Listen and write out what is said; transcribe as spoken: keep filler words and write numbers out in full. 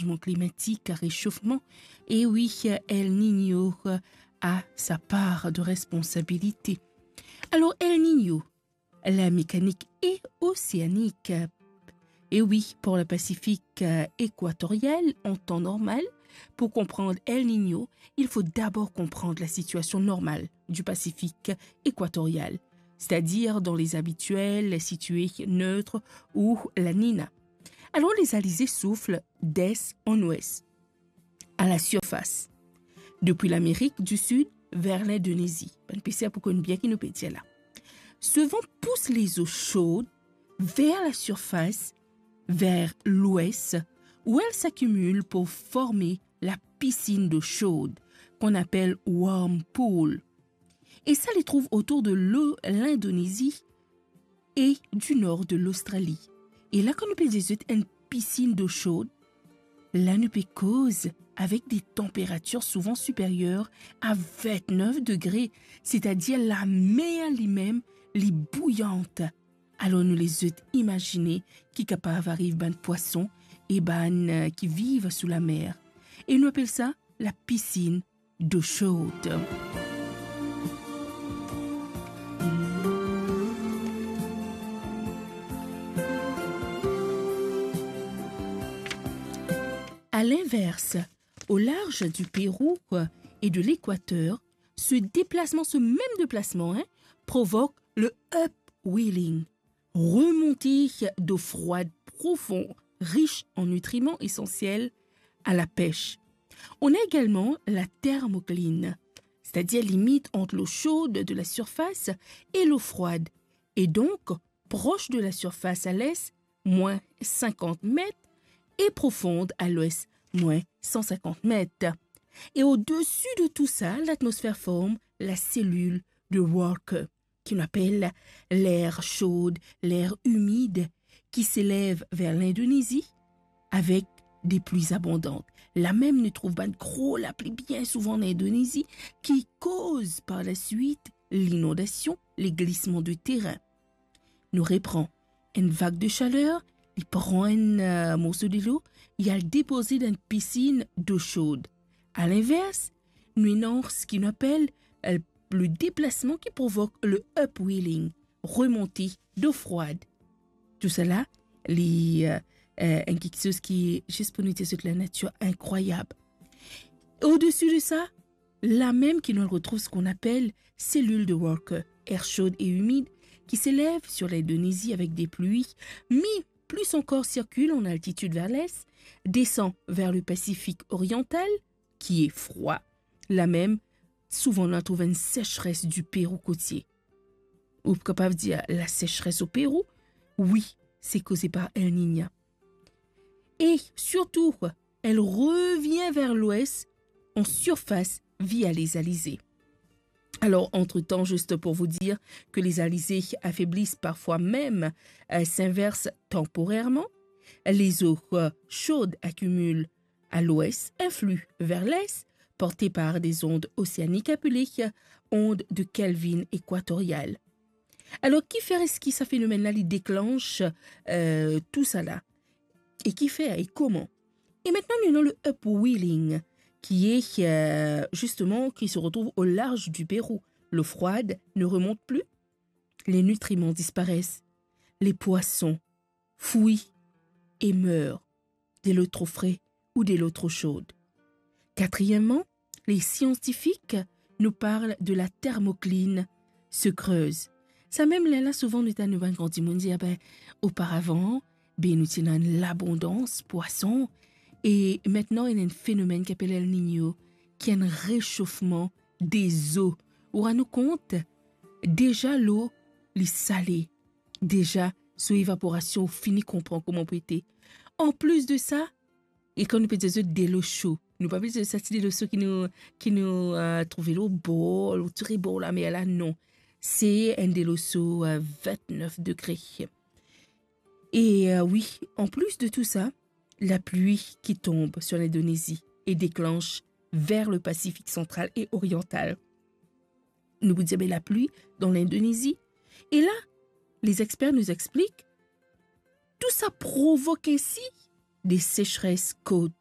chanjman klimatik, a resofman. E wi, El Niño a sa par de responsabilite. Alor, El Niño, la mécanique océanique. E wi, pour le Pacifique, euh, équatorial, en temps normal, pour comprendre El Niño, il faut d'abord comprendre la situation normale du Pacifique équatorial, c'est-à-dire dans les habituels situés neutres ou La Nina. Alors, les alizés soufflent d'est en ouest, à la surface, depuis l'Amérique du Sud vers l'Indonésie. Bann pesier pou konn bien ki nou pe dir la. Ce vent pousse les eaux chaudes vers la surface, vers l'ouest, où elles s'accumulent pour former la piscine d'eau chaude, qu'on appelle warm pool. Et ça les trouve autour de l'O-, l'Indonésie et du nord de l'Australie. E la, kan nou pe dir zot enn piscine d'eau chaude, la nou pe koz avek des températures souvent supérieures à vingt-neuf degrés, c'est-à-dire la mer li mem, li bouyant. Alor nou les zot imazine ki kapav ariv bann pwason e bann, euh, ki viv sou lamer. E nou apel sa la piscine d'eau chaude. À l'inverse, au large du Pérou et de l'Équateur, ce déplacement, ce même déplacement, hein, provoque le upwelling, remontée d'eau froide profonde, riche en nutriments essentiels à la pêche. On a également la thermocline, c'est-à-dire limite entre l'eau chaude de la surface et l'eau froide, et donc proche de la surface à l'est, moins cinquante mètres, et profonde à l'ouest, moins cent cinquante mètres. Et au-dessus de tout ça, l'atmosphère forme la cellule de Walker, qu'on appelle l'air chaud, l'air humide, qui s'élève vers l'Indonésie avec des pluies abondantes. La mem nou trouv bann gro lapli bien souvan an Indonésie, ki koz par la suite l'inondation, les glissements de terrain. Nou repran, enn vag de chaler, li pran enn, euh, morso delo, li al depoze dan enn piscine d'eau chaude. À l'inverse, nou ena seki nou apel, euh, le déplacement qui provoque le upwelling, remontée d'eau froide. Tousala, li, euh, euh, enn kiksoz ki, zis pou nou dir zot, la natir inkrwayab. Au-dessus de ça, la mem ki nou retrouv seki nou apel cellule de Walker, air chaud et humide, qui s'élève sur l'Indonésie avec des pluies, mais plus encore circule en altitude vers l'est, descend vers le Pacifique oriental, qui est froid. La mem, souvan nou trouv enn sécheresse du Pérou côtier. Ou kapav dir la sécheresse au Pérou, wi, se koze par El Niño. Et surtout, elle revient vers l'ouest en surface via les alizés. Alors, entre-temps, juste pour vous dire que les alizés affaiblissent parfois même, euh, s'inversent temporairement. Les eaux, euh, chaudes accumulent à l'ouest, influent vers l'est, portées par des ondes océaniques appelées ondes de Kelvin équatoriales. Alors, kifer eski sa fenomèn-la, li deklanch, euh, tousala? E kifer e koman? Et maintenant, nous avons le upwelling, qui est, euh, justement, qui se retrouve au large du Pérou. L'eau froide ne remonte plus, les nutriments disparaissent, les poissons fuient et meurent de l'eau trop fraîche ou de l'eau trop chaude. Quatrièmement, les scientifiques nous parlent de la thermocline se creuse. Sa mem lerla, souvan nou tann nou bann gran dimoun dir, "Ah ben, oparavan, ben, nou ti ena enn labondans pwason, e aster ena enn fenomèn ki apel El Niño, ki enn resofman dezo." Ou rann ou kont, deza lo, li sale. Deza, so evaporasion, ou fini konpran kouma pou ete. An plis de sa, e kan nou pe dir zot delo so, nou pa pe dir sa ti delo so ki nou, ki nou, euh, trouve lor bor, lor ti rebor lamer la, non. Se enn delo so, euh, vintnef degre. E, euh, wi, an plis de tou sa, la pli ki tonb sir Lindonezi e deklanch ver le Pasifik santral e oriantal. Nou pou dir, be, la pli dan Lindonezi. E la, les experts nous expliquent, tou sa provok ensi de sechres kot